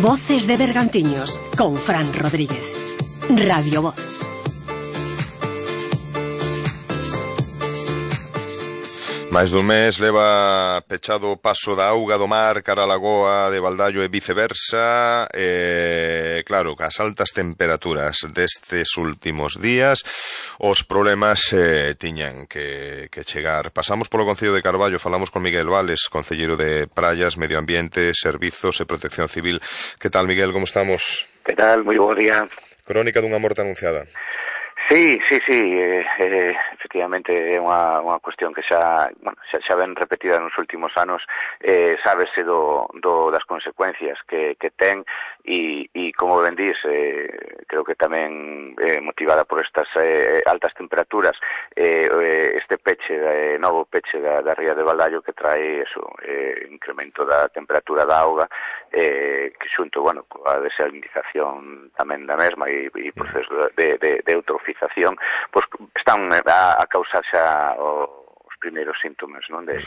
Voces de Bergantiños con Fran Rodríguez. Radio Voz. Máis dun mes leva pechado o paso da auga do mar cara a lagoa de Baldaio e viceversa. Claro, as altas temperaturas destes últimos días, os problemas tiñan que chegar. Pasamos polo Concello de Carballo, falamos con Miguel Vales, concelleiro de Praias, Medio Ambiente, Servizos e Protección Civil. Que tal, Miguel, como estamos? Que tal? Moi bo día. Crónica dunha morte anunciada. Sí, efectivamente é unha cuestión que xa ven repetida nos últimos anos, sábese das consecuencias que ten e como ben dís, creo que tamén motivada por estas altas temperaturas, este novo peche da ría de Baldaio que trae incremento da temperatura da auga, que xunto, coa desalinización tamén da mesma e proceso de eutrofización, pois están a causar xa os primeiros síntomas, non, de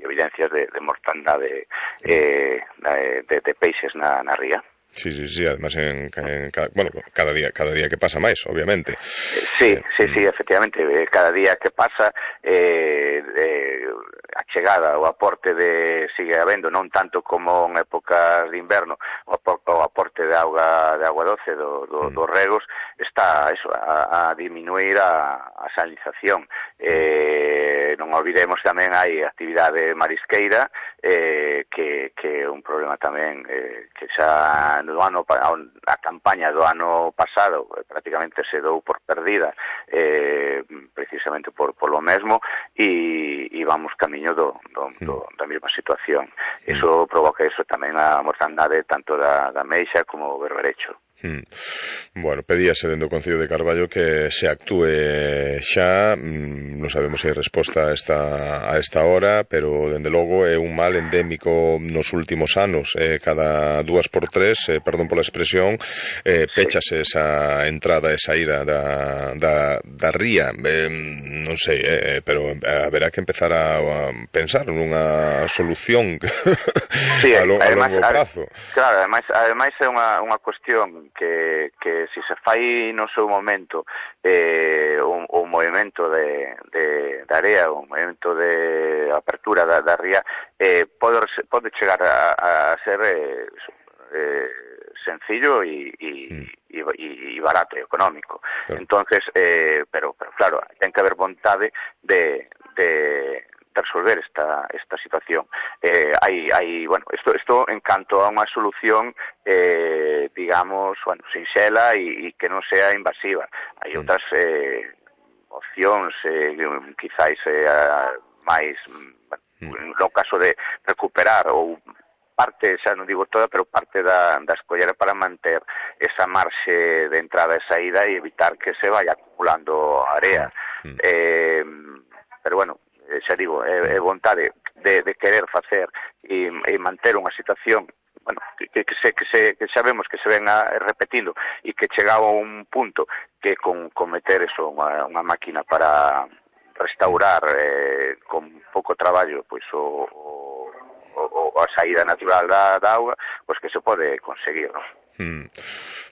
evidencias de mortandade de peixes na ría. Sí, además cada día que pasa máis, obviamente. Sí, efectivamente, cada día que pasa a chegada, o aporte sigue habendo, non tanto como en épocas de inverno, o aporte de auga doce dos regos está a diminuir a salinización. Non olvidemos tamén hai actividade marisqueira, que é un problema tamén que xa a campaña do ano pasado prácticamente se dou por perdida, precisamente por lo mesmo, e vamos camiño da mesma situación. Iso provoca tamén a mortandade tanto da meixa como o berberecho. Bueno, pedíase dentro do Concello de Carballo que se actúe xa. Non sabemos se hai resposta a esta hora, pero dende logo é un mal endémico nos últimos anos. Cada 2x3, perdón pola expresión, péchase esa entrada e saída da ría. Non sei, pero haberá que empezar a pensar nunha solución a longo prazo. Claro, ademais é unha cuestión que se fai no seu momento o movimento de area, o movimento de apertura da ría, pode chegar a ser sencillo e barato e económico. Claro. Entonces, pero claro, ten que haber vontade de resolver esta situación. Isto en canto a unha solución digamos, sinxela e que non sea invasiva. Hai outras opcións, quizáis máis no caso de recuperar ou parte, xa non digo toda, pero parte da escollera para manter esa marxe de entrada e saída e evitar que se vaya acumulando area. Pero xa digo, é vontade de querer facer e manter unha situación que sabemos que se ven repetindo e que chegaba a un punto que con meter unha máquina para restaurar con pouco traballo pois a saída natural da auga, pois que se pode conseguir, non?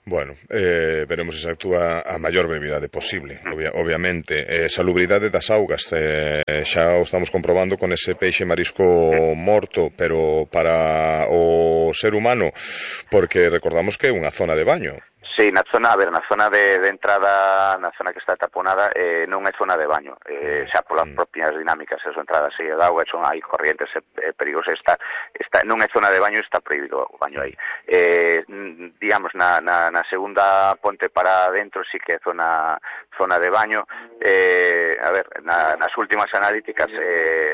Bueno, veremos se actúa a maior brevidade posible, obviamente. Salubridade das augas, xa o estamos comprobando con ese peixe marisco morto, pero para o ser humano, porque recordamos que é unha zona de baño. Sí, na zona de entrada, na zona que está taponada, non é zona de baño, xa polas propias dinámicas, a súa entrada seguida de auga, hai corrientes perigosas, non é zona de baño, está prohibido o baño aí. Digamos, na segunda ponte para dentro sí que é zona de baño. Nas últimas analíticas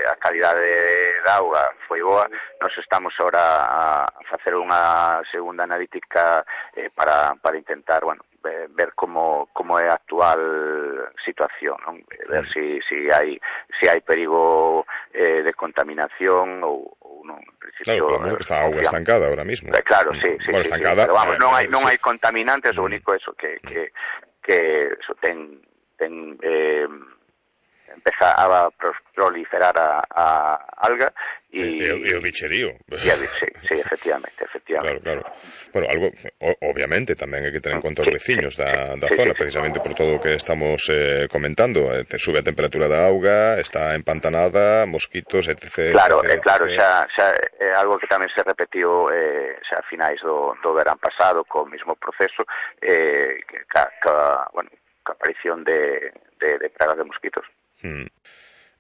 a calidade da auga foi boa. Nos estamos ahora a facer unha segunda analítica para intentar, ver como é a actual situación, non? Ver si hai perigo de contaminación ou non. Claro, está a auga estancada ahora mismo. Claro, sí. Estancada, pero non hai contaminantes, o único eso que eso ten empeza a proliferar a alga e o bicherío. Sí, efectivamente. Claro. Bueno, algo, obviamente, tamén hai que ter en conta os veciños da zona, precisamente por todo o que estamos comentando. Sube a temperatura da auga, está empantanada, mosquitos, etc. Claro, xa é algo que tamén se repetiu xa a finais do verán pasado, co mesmo proceso, ca aparición de pragas de mosquitos.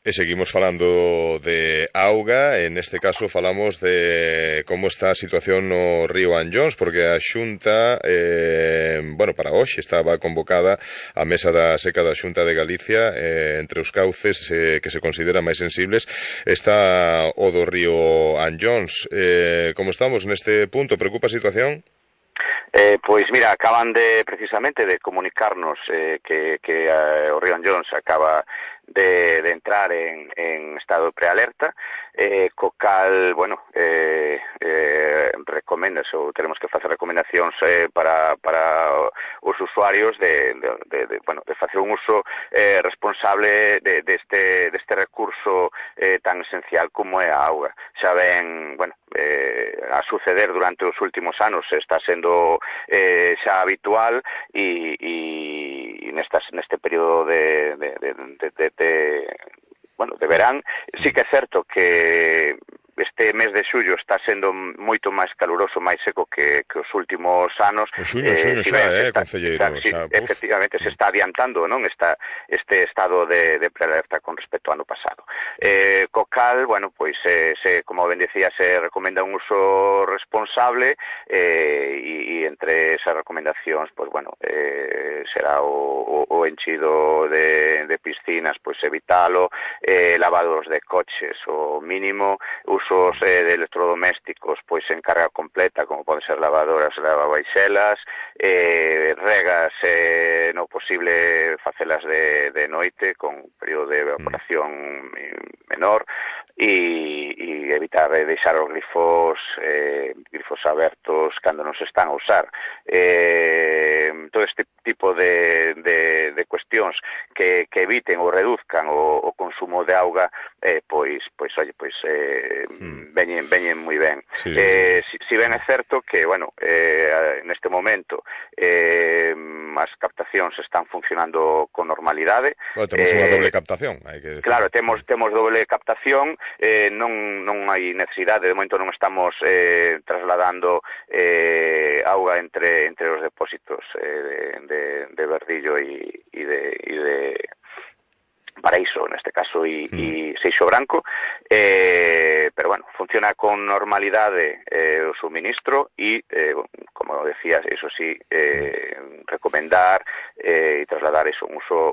E seguimos falando de auga, en este caso falamos de como está a situación no río Anllóns, porque a Xunta, para hoxe estaba convocada a mesa da seca da Xunta de Galicia, entre os cauces que se consideran máis sensibles está o do río Anllóns. Como estamos neste punto? Preocupa a situación? Pois mira, acaban precisamente de comunicarnos que o río Anllóns acaba de entrar en estado de prealerta, co cal, recomendas ou teremos que facer recomendacións para os usuarios de facer un uso responsable deste recurso tan esencial como é a auga. Xa ven, a suceder durante os últimos anos, está sendo xa habitual e neste período de verán. Sí que é certo que este mes de xullo está sendo moito máis caluroso, máis seco que os últimos anos. O xuño concelleiro. Efectivamente, se está adiantando, non, este estado de prealerta con respecto ao ano pasado. Co cal, como ben decía, se recomenda un uso responsable e entre esas recomendacións, será o enchido de piscinas, evitalo, lavados de coches o mínimo, usos de electrodomésticos en carga completa, como poden ser lavadoras, lavavaixelas, regas no posible facelas de noite con período de evaporación menor, e evitar deixar os grifos abertos cando non se están a usar. Todo este tipo de cuestións que eviten ou reduzcan o consumo de auga, veñen moi ben. Si ben é certo que, neste momento as captacións están funcionando con normalidade. Temos unha doble captación, hai que decir. Claro, temos doble captación, non hai necesidade, de momento non estamos trasladando auga entre os depósitos de Verdillo e de Paraíso, neste caso, e Seixo Branco, pero funciona con normalidade o suministro e, como decías, eso sí, recomendar e trasladar un uso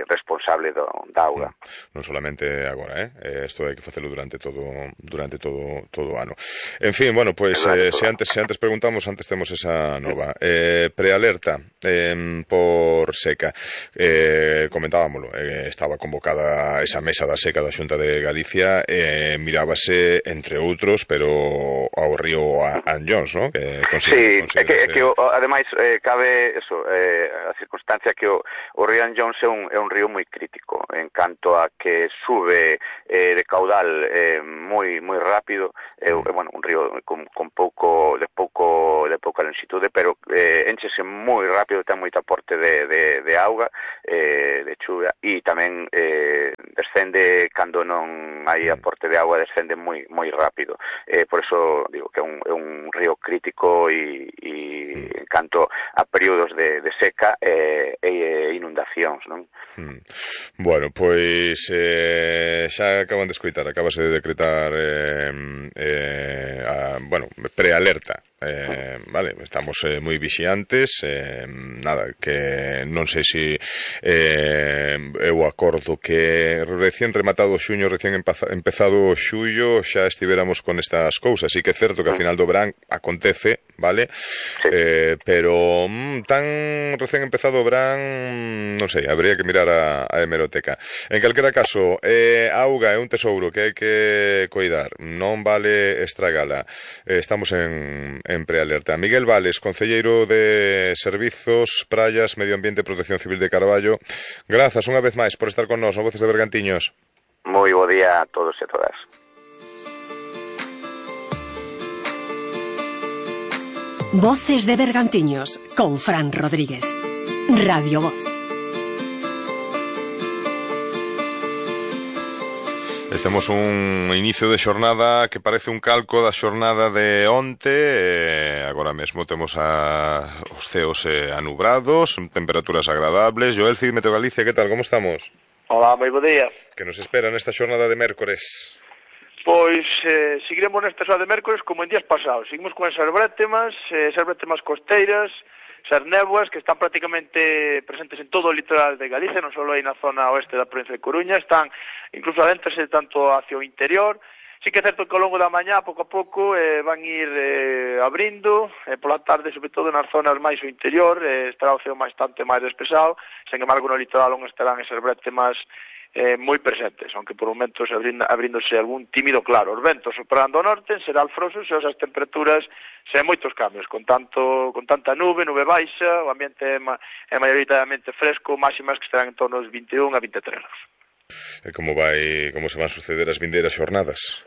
responsable da auga. Non solamente agora, isto hai que facelo durante todo o ano. En fin, se antes preguntamos, antes temos esa nova prealerta por seca. Comentábamolo, estaba convocada esa mesa da seca da Xunta de Galicia, mirábase, entre outros, pero ao río Anllóns, non? Sí, é que ademais cabe eso, a circunstancia que o río Anllóns é un río moi crítico en canto a que sube de caudal moi rápido, un río con pouca longitude, pero enchese moi rápido, ten moito aporte de auga, de chuvia, e tamén descende cando non hai aporte de auga, descende moi rápido. Por eso digo que é un río crítico e en canto a períodos de seca e inundacións, non? Bueno, pois xa acaban de escoitar, acabase de decretar prealerta. Vale, estamos moi vixiantes, nada, que non sei se eu acordo que recén rematado o xuño, recén empezado o xullo, xa estivéramos con estas cousas. Sí que é certo que a final do verán acontece, vale? Sí. Pero tan recén empezado o verán, non sei, habría que mirar a hemeroteca. En calquera caso, a auga é un tesouro que hai que coidar, non vale estragala. Estamos en prealerta. Miguel Vales, concelleiro de Servizos, Praias, Medio Ambiente e Protección Civil de Carballo, grazas unha vez máis por estar con nós, no Voces de Bergantiños. Moi bo día a todos e a todas. Voces de Bergantiños con Fran Rodríguez. Radio Voz. Temos un inicio de xornada que parece un calco da xornada de onte. Agora mesmo temos os ceos anubrados, temperaturas agradables. Joel Cid, Meteo Galicia, que tal, como estamos? Hola, moi bo día. Que nos espera nesta xornada de mércores? Pois seguiremos nesta xornada de mércores como en días pasados. Seguimos con esas brétemas costeiras, esas néboas que están prácticamente presentes en todo o litoral de Galicia, non só aí na zona oeste da provincia de Coruña, están incluso adéntrase tanto hacia o interior. Sí que é certo que ao longo da mañá, pouco a pouco, van ir abrindo, pola tarde, sobre todo nas zonas máis o interior, estará o ceo bastante máis despexado, sen embargo no litoral onde estarán esas brétemas moi presentes, aunque por momentos abríndose algún tímido claro. Os ventos soprando ao norte, será alfrosos e as temperaturas sen moitos cambios, con tanta nube baixa, o ambiente é maioritariamente fresco, máximas que estarán en torno aos 21 a 23 graus. E como se van suceder as vindeiras xornadas?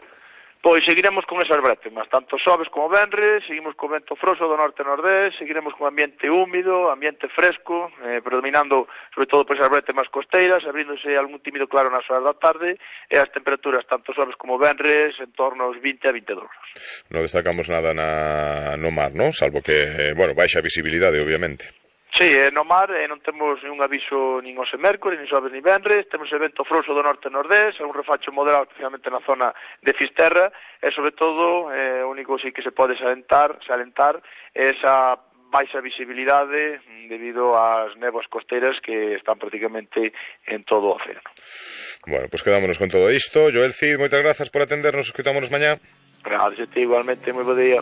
Pois seguiremos con esas brétemas, tanto xoves como venres, seguimos co vento froso do norte-nordés, seguiremos con ambiente húmido, ambiente fresco, predominando sobre todo por esas brétemas costeiras, abríndose algún tímido claro nas horas da tarde, e as temperaturas tanto xoves como venres en torno aos 20 a 22 graus. Non destacamos nada no mar, non? Salvo que, baixa visibilidade, obviamente. Sí, no mar non temos ningún aviso nin hoxe mércores, nin xoves, nin venres, temos o vento frouxo do norte-nordés, un refacho moderado especialmente na zona de Fisterra, e sobre todo, o único sí que se pode salientar é esa baixa visibilidade debido ás néboas costeiras que están prácticamente en todo o océano. Bueno, pois quedámonos con todo isto. Joel Cid, moitas grazas por atendernos, escutámonos mañá. Gracias a ti, igualmente, moi bo día.